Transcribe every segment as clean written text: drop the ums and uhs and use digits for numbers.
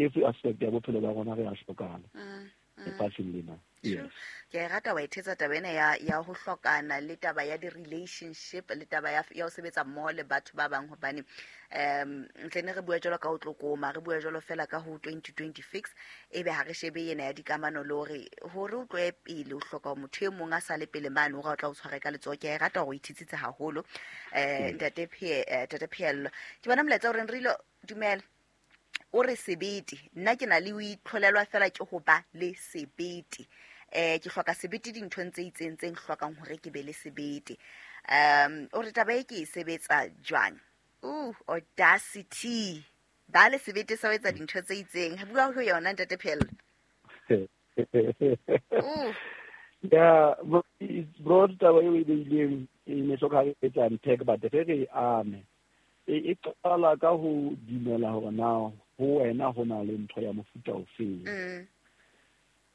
Every aspect ya bophelo ba rona re a hlokana lefatsheng lena. Yes. Ke a e rata wa e thetsa taba ena ya ho hlokana le taba ya di-relationship le taba ya ho sebetsa mmoho le batho ba bang, hobane ntle ne re bua jwalo ka ho tlokoma, re bua jwalo fela ka ho 2020 fix, ebe ha re shebe ena ya dikamano le hore hore o tlohe pele o hloka motho e mong a sale pele mane hore o tla o tshware ka letsoho. Ke a e rata hore o ithetsitse haholo. Ntate Pheello, ke bona molaetsa o reng re ilo dumela o re sebete. Nna ke na le o itlholelwa fela ke ho ba le sebete. Ke hloka sebete dinthong tse itseng tse hlokang hore ke be le sebete. O re taba e ke e sebetsa jwang? Audacity. Ba le sebete sa ho etsa dintho tse itseng. Ha bua ho yona, ntate Pheello. Yeah, it's broad taba eo e beileng e ne hloka re etsa unpack, but re re ame. E qala ka ho dumela hore na ho wena ho na le ntho ya mofuta ofeng.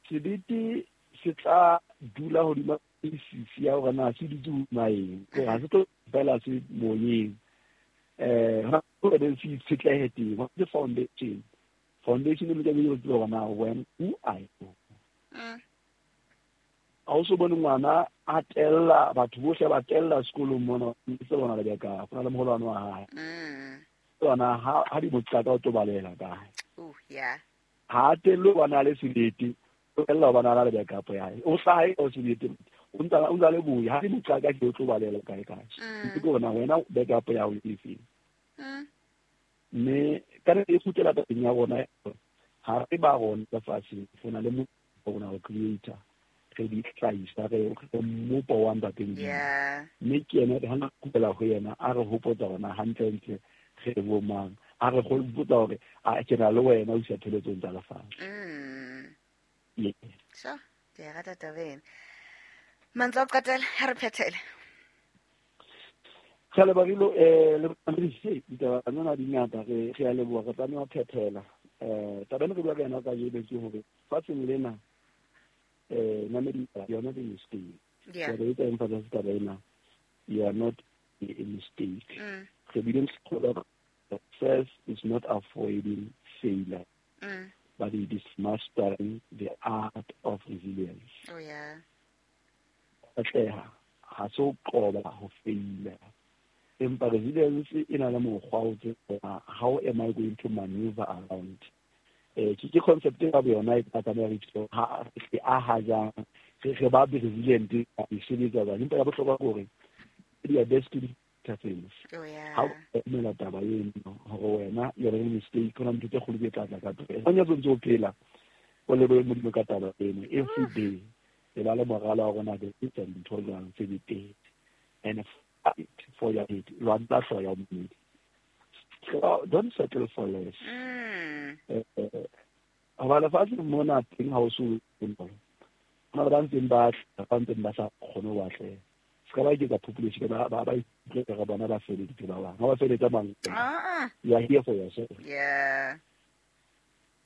Sebete se tla dula hodima basis ya hore na se dutse hodima eng. Hore ha se tlo fela se moyeng. Ha ho se itshetlehe teng, ho ke foundation. Foundation e lokela ho tseba hore na when who are you. Ha o so bone ngwana a tella batho bohle ba tella sekolong mona, se bona le beka, go na le moholwane wa hae. Tsona ha di moqaka o tlo balela kae. Oh, yeah. Ha telle ba na le sebete, o tella ba na le backup ya hae. O hlahe o sebete, o ntsa le boya, ha di moqaka ke o tlo balela kae kae. Ke bona wena backup ya hao e feng. Mme ka re e kgutlela tabeng ya rona, ha re ba rona lefatsheng, go na le motho rona o creator, re di hlahisa, re mmopo wa Ntate Modimo. Mme ke yena re hana kgutlela ho yena, a re hopotsa hore hantlentle re bo mang, a re hopotsa hore a ke na le wena o isa pheletsong tsa lefatshe. Yes. Sure, ke a rata taba ena. Mantswe a ho qetela, ha re phethele. Re a leboha, Rilo, le bamamedi, ditaba tsena di ngata, re a leboha, re tlameha ho phethela. Taba ena re bua ka yona kajeno ke hore fatsheng lena, mamedi, you are not a mistake. Taba e tsa emphasize taba ena, you are not a mistake. Re bile re success is not avoiding failure, but it is mastering the art of resilience. Oh, yeah. Atleha ha se ho qoba ho faila, empa resilience e na le mokgwa o tseba how am I going to maneuver around. Ke concept ya yona e tla tlameha re itse ha re aha jang, re ba resilient, e sebetsa jwang. Empa ya bohlokwa ke hore you are destined to things. Oh, yeah. Ha o emela taba eno hore wena you are a mistake, hona ntho tse kgolo tse tla tla ka pele. O ntse o phela o lebohe Modimo ka taba eno every day. E ba le moralo wa rona re etsa dintho jwang tse betere, and fight for your head. Lwantsha hlooho ya mmele. Don't settle for less. Hoba lefatsheng mona teng ha o so bonolo. Hona le ba ntseng ba tla, ba ntseng ba sa kgone ho atleha. Se ka ba eketsa population, ba ikutlwe ka bona ba feleditse ba bang. Ha ba feletsa mang? You are here for yourself.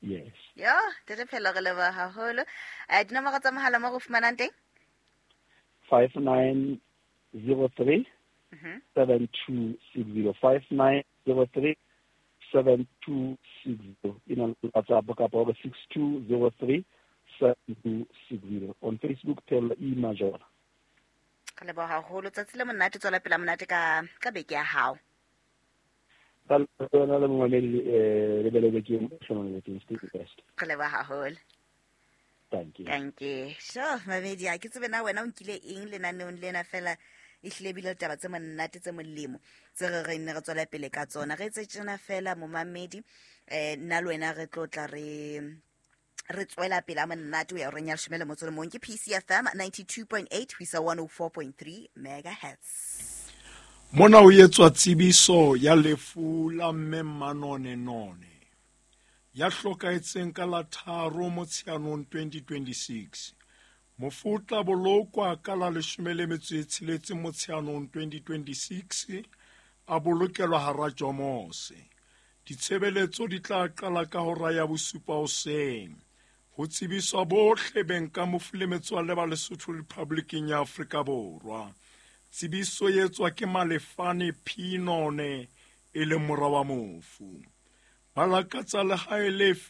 Yes. Yo, Ntate Pheello, re leboha haholo. Dinomoro tsa mohala mo re fumanang teng? 5903 7260. 5903 7260. E na le WhatsApp kapa hore 6203 7260. On Facebook, Pheello E Majola. Re leboha haholo. Tsatsi le monate, tswela pele monate ka beke ya hao. Ka lona le momamedi, le bele bekeng, hlomang bekeng, stay best. Re leboha haholo. Thank you. Thank you. Sure, mamedi, ha ke tsebe na wena o nkile eng lenaneong lena fela, e hlile bile taba tse monate tse molemo tse re re nne re tswela pele ka tsona. Re etse tjena fela momamedi, nna le wena re tlo tla re tswela pele a monate ho ya horeng ya leshome le motso le mong. Ke PCFM 92.8 ho isa 104.3 megahertz. Mona ho etswa tsebiso ya lefu la mme Mmanone None, ya hlokahetseng ka la 3 Motsheanong 2026. Mofu o tla bolokwa ka la leshome le metso e tsheletse Motsheanong 2026, a bolokelwa hara Jomose. Ditshebeletso di tla qala ka hora ya bosupa hoseng. Ho tsebiswa bohle beng ka mofu le metswalle ba Lesotho Republiceng ya Afrika Borwa. Tsebiso e etswa ke Malefane P. None, e leng mora wa mofu. Ba lakatsa lehae le